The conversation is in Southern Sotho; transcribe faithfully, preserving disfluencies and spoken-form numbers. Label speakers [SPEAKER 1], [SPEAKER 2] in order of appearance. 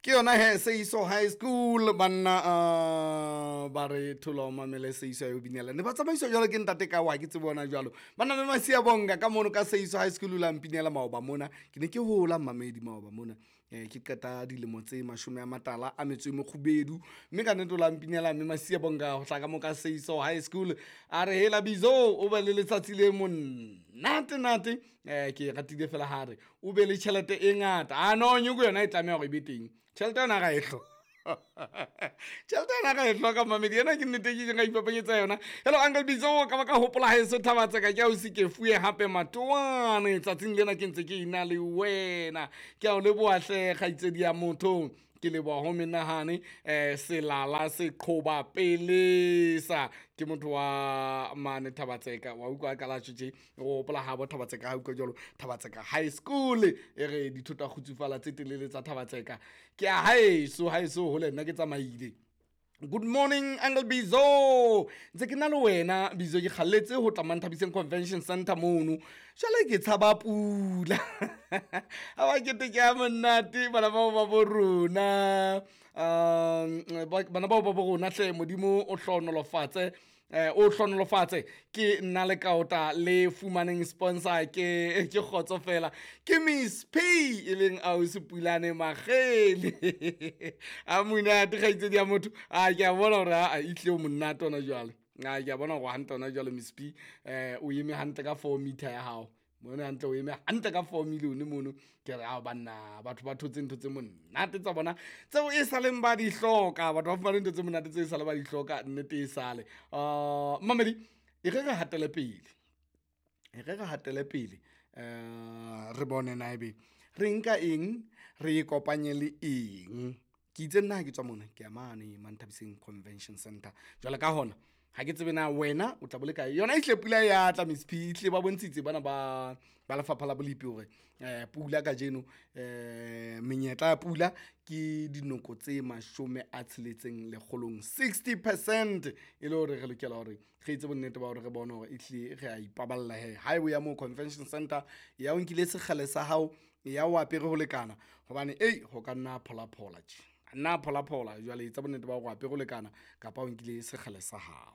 [SPEAKER 1] Ke yona he, Seiso High School banna. uh, ba re thola o mamele Seiso ya o binela ne ba tsamaiswa jwalo ke ntate ka wa ke tsebe ona jwalo banna. Mme Masia bonga ka mono ka Seiso High School o la mpinela maoba mona. Ke ne ke hola mmamedi maoba mona, um ke qeta dilemo tse mashome a matala a metso e mekgubedu, mme ka nnete o la mpinela mme Masia bonga ho tla ka mo ka Seiso High School. A re hela Bizo, o be le letsatsi le monate nate. um ke ratile fela ha re o be le tjhelete e ngata. A no nyoko yona e tlameha hore e be teng tjhelete yona, ra e hloka tjhelete yona, ra e hloka mamedi. Ena ke nnete ke ka ipapanyetsa yona. Hello Uncle Bizo, ka ba ka hopola haeso Thabatseka, ke ausi ke fuwe hape matoane tsatsing lena ke ntse ke ina le wena. Ke a o leboha hle kgaitsedi ya motho, ke leboha ho menahane. um selala se qhoba pelesa ke motho wa mane Thabatseka wa utlwa ka latjho tje o hopola ha bo Thabatseka ha utlwa jwalo Thabatseka High School e re dithoto kgutsufala tse telele tsa Thabatseka ke a haeso haeso hole nna ke tsamaile. Good morning Uncle Bizo, ntse ke na le wena Bizo, ke kgalletse ho tla Manthabiseng Convention Center mono, jwale ke tshaba pula. A ba kete ke a monate bana bao ba bo rona, um bana bao ba bo rona hle, Modimo o hlohonolofatse, eh o hlohonolofatse. Ke nna le kaota le fumaneng sponsor, ke ke kgotso fela ke Miss P e leng ausi Pulane Magele a monate kgaitsedi ya motho. A ke a bona hore a itlile o monate ona jwale, a ke a bona hore hantle ona jwale Miss P eh o eme hantle ka four meter ya hao mone, hantle o eme hantle ka four million mono. Ke re ao banna, batho ba thotse ntho tse monate tsa bona tseo e saleng ba di hloka, batho ba fumane ntho tse monate tse e sale ba di hloka nnete e sale. um mamedi e re re hatele pele, e re re hatele pele, um re bone na ebe re nka eng re e kopanye le eng. Ke itse nna ha ke tswa mona ke ya mane Manthabiseng Convention Center jwale ka hona ha ke tsebe na wena o tla bo le kae yona. Ehlile pula ya tla Miss P, ehlile ba bontshitse bana ba ba lefapha la bolipi hore um pula kajeno, um menyetla ya pula ke dinoko tse mashome a tsheletseng lekgolong, sixty percent, e le hore re lokela hore re etse bonnete ba hore re bone hore ehlile re a ipaballa he ha o ya moo convention center ya o nkile sekgele sa hao ya o apere ho lekana, hobane ei ho ka nna pholaphola tje, nna pholaphola. Jwale etsa bonnete ba hore o apere ho lekana kapa o nkile sekgele sa hao.